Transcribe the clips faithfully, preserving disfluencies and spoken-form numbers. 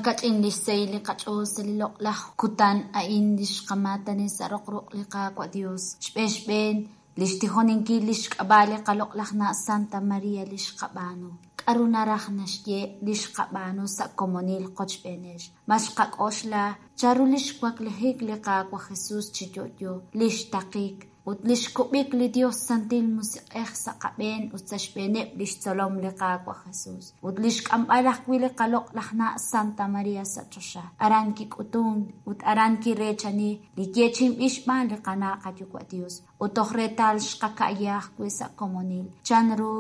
Makach'in li xsahil li qach'ool sa' li loq'laj kutan a'in li xqamaatani sa' roq ruq' li Qaawa' Dios. Xb'een xb'een li xtijoninkil li xk'ab'a' li qaloq'laj na' Santa Maria li xqab'aanu. K'aru naraj naxye li xqab'aanu sa' komonil qochb'eenex. Ma xqak'oxla chanru li xwaklijik li Qaawa' Jesús chi yo'yo, li xtaqik ut li xkub'ik li Dios Santil Musiq'ej sa' qab'een ut sa' xb'eeneb' li xtzolom li Qaawa' Jesús. Ut li xk'amb'al ajwi' li qaloq'laj na' Santa Maria sa' choxa. Aran kik'utun ut aran kireechani li yeechi'inb'il xb'aan li qana' qayuwa' Dios. Ut toj reetal xqaka'ya ajwi' sa' komonil. Chanru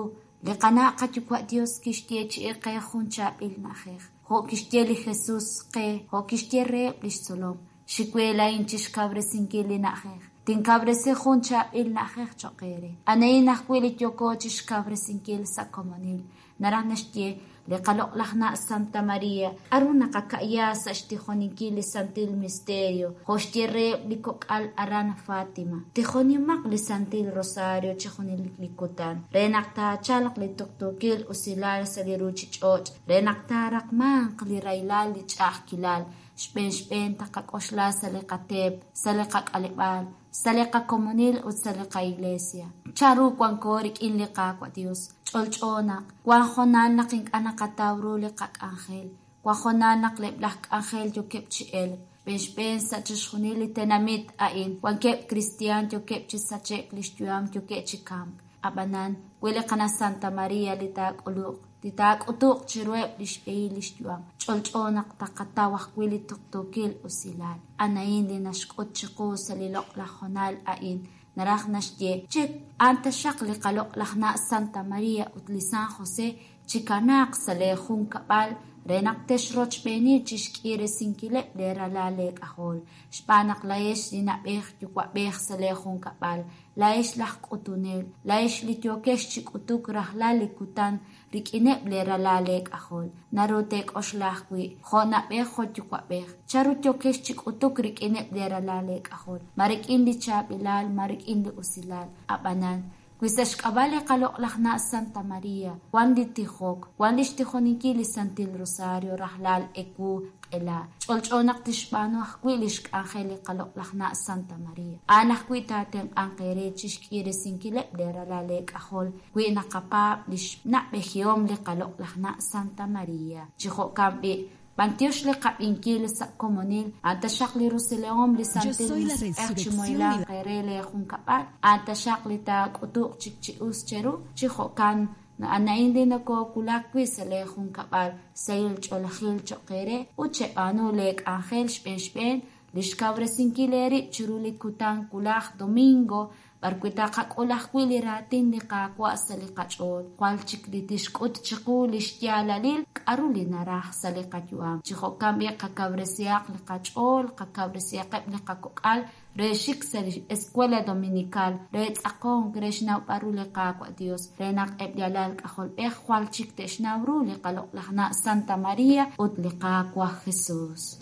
li qana' qayuwa' Dios kixyeechi'i qe jun chaab'il na'ajej. Jo' kixye li Jesús qe, jo' kixye reheb' li xtzolom. Xiwelahin chixkawresinkil li na'ajej. Tinkawresi jun chaab'il na'ajej cho'q eere. Anahin ajwi' li yooko chixkawresinkil sa' komonil. Naraj naxye li qaloq'laj na' Santa Maria k'aru naqaka'ya sa' xtijoninkil li Santil Misterio jo' xye reheb' li kok'al aran Fátima. Tijonimaq li Santil Rosario chi junelik li kutan re naq taachalq li tuqtuukil usilal sa' li ruuchich'och' re naq taaraqmanq li rahilal li ch'a'ajkilal. Xb'een xb'een taqak'oxla sa' li qateep, sa' li qak'aleb'aal, sa' li qakomonil ut sa' li qaiglesia. Chanru wanko rik'in li Qaawa' Dios. Ch'olch'o naq wan hoonal naq ink'a' naqataw ru li qak'anjel, wan hoonal naq eb' laj k'anjel yookeb' chi elk. Xb'een xb'een sa' chixjunil li tenamit a'in wankeb' kristiaan yookeb' chi sache'k li xyu'am yookeb' chi kamk. Ab'anan wi li qana' Santa Maria li taak'uluq li taak'utuq chiruheb' li xb'ehil li xyu'am. Ch'olch'o naq taqataw ajwi' li tuqtuukil usilal. Anahin li naxk'ut chiqu sa' li loq'laj hoonal a'in. Naraj naxye che a'an taxaq li qaloq'laj na' Santa Maria ut li San José chikanaaq sa' lee junkab'al re naq texrochb'eeni chixk'iresinkileb' lee ralal lee k'ajol. Xb'aan naq laa'ex li na'b'ej yuwa'b'ej sa' lee junkab'al, laa'ex laj k'utunel, laa'ex li yookex chi k'utuk rajlal li kutan rik'ineb' lee ralal lee k'ajol. Naru teek'oxla ajwi' jo' na'b'ej jo' yuwa'b'ej. Chanru yookex chi k'utuk rik'ineb' lee ralal lee k'ajol. Ma rik'in li chaab'ilal, ma rik'in li usilal. Ab'anan wi sa' xk'ab'a' li qaloq'laj na' Santa Maria, wan li tijok, wan li xtijoninkil li Santil Rosario rajlal ewu q'ela. Ch'olch'o naq tixb'aanu ajwi' li xk'anjel li qaloq'laj na' Santa Maria. A'an ajwi' taatenq'anq eere chixk'iresinkileb' lee ralal lee k'ajol wi naqapaab' li xna'b'ejihom li qaloq'laj na' Santa Maria. Chi jo'kan b'i' b'antiox li qab'inkil sa' komonil, a'an taxaq li rusilahom li Santil soy la Musiq'ej chi resurrección y moylanq eere lee junkab'al, a'an taxaq li taak'utuq chik chi us cheru, chi jo'kan anahin li nokoowulak wi' sa' lee junkab'al, sahil ch'oolejil cho'q eere ut cheb'aanu lee k'anjel xb'een xb'een li xkawresinkil eerib' chiru li kutan wulaj domingo b'arwi' taqak'ul ajwi' li raatin li Qaawa' sa' li qach'ool. Jwal chik li tixk'ut chiqu li xyaalalil k'aru li naraj sa' li qayu'am. Chi jo'kan b'i' qakawresihaq li qach'ool, qakawresihaqeb' li qakok'al re xik sa' li Escuela Dominical, re tz'aqonk, re xnawb'al ru li Qaawa' Dios, re naq eb' li alal k'ajolb'ej jwal chik te'xnaw ru li qaloq'laj na' Santa Maria ut li Qaawa' Jesús.